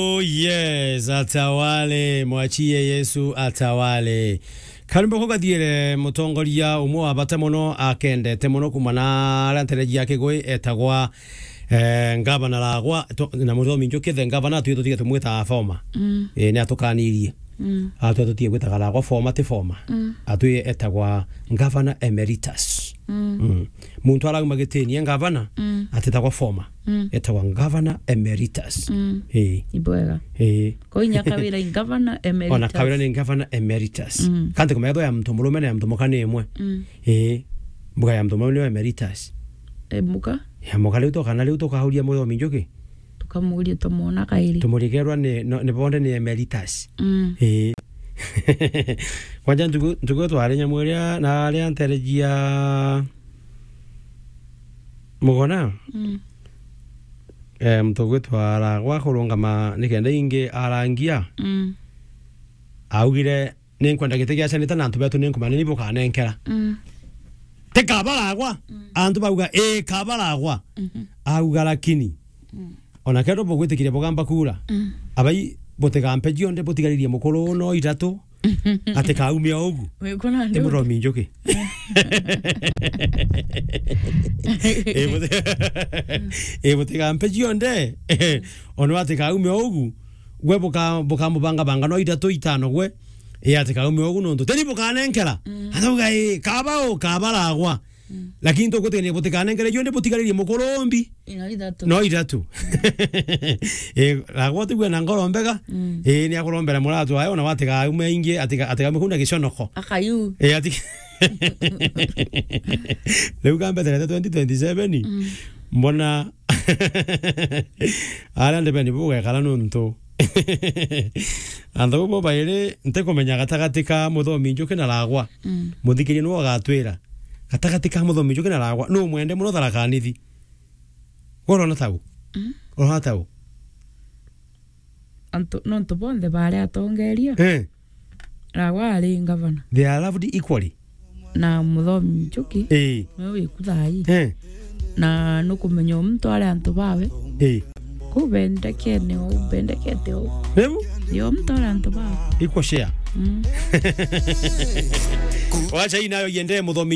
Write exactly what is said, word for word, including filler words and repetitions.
Oh yes, atawale, mwachie Yesu atawale. Karimbo kugathiere mutongoria umwe wa bata muno akendete muno kuma na aria ntereji ya Kigui etagwa, eh, Ngavana Ragwa, to-, na Muthomi Njuki the Ngavana, twi tutige tumwita former. Mm. Eh, ni atukanirie. Mm. Atwe tutige gwitaga Ragwa former ti former. Mm. Atwi etagwa Ngavana Emeritus. Mm. Mm. Muntu arauma gitini e Ngavana, mm, atitagwa former. Mm. Etagwa Ngavana Emeritus. Mm. Eh. Ibwega. Eh. Ko inya Kawira i Ngavana Emeritus. Ona Kawira ni Ngavana Emeritus. Mm. Kanti kumenya ya muntu murume na ya muntu muka ni imwe. Mm. Eh. Mbuga ya muntu murume ni Emeritus. E, muka? Ya muka riu tokana riu tukauria Muthomi Njuki. Tukamuria tumwona kairi. Tumurikerwa ni, no, ni bonde ni Emeritus. Mm. Eh. Kwanja ntuku, ntuku twari nyamu iria na aria ntereji ya Mugona. Mm. Eh, muntu gwitwa Ragwa kurungama nikenda ingi arangia. Mm. Augire, "Ninkwenda giti gia seneta na antu betu ninkumanya ni bukanenkera." Mm. Ti kaba Ragwa, mm, antu bauga, "Ii, kaba Ragwa." Mhm. Auga, "Lakini, mm, ona kethirwa bugwitikiria bugamba kura, mm, abai butigampe cionthe, butigaririe mukuru no ithatu, atikaume o ugu." Wikuna ndu? Ti Muthomi Njuki. Ii, buti-, ii, butigampe cionthe, ona atikaume o ugu, gwe buka-, bukamubangabanga no ithatu itano gwe, ii, atikaume o ugu nontu teni bukanenkera. Mm. Atauga, "Ii, kaba u, kaba Ragwa." Mm. Lakini tugutigania butikanengere cionthe, butigaririe mukuru umbi. Ino ithatu. No ithatu. Eh, Ragwa tigwe na ngoro mbega. Mm. Eh, ni akurombera muratu ayo, na watiga aume ingi, atiga, atiga aume kuna giconoko. Akayu. Eh, ati-, riu kambeterete twenty twenty-seven. Mm. Mbona aria ndebeni bugekara nontu antu bo bairi ntikumenya gatagati ka Muthomi Njuki na Ragwa. Mm. Muthikiria niwe ugatwira. Gatagati ka Muthomi Njuki na Ragwa, nu mwende muno Tharaka Nithi? Gwe urona tau? Mm. Urona tau? Antu, nontu bonthe baari atongeria. Eh. Ragwa ari ngavana. They are loved equally. Na Muthomi Njuki, eh, niwe wiku thaa ii. Eh. Na nukumenya o muntu ari antu bawe. Eh. Kuu bendekene o, bendekete o. Riu? Yo muntu ari antu bawe. Equal share. Mm. Wacha hii nayo iende Muthomi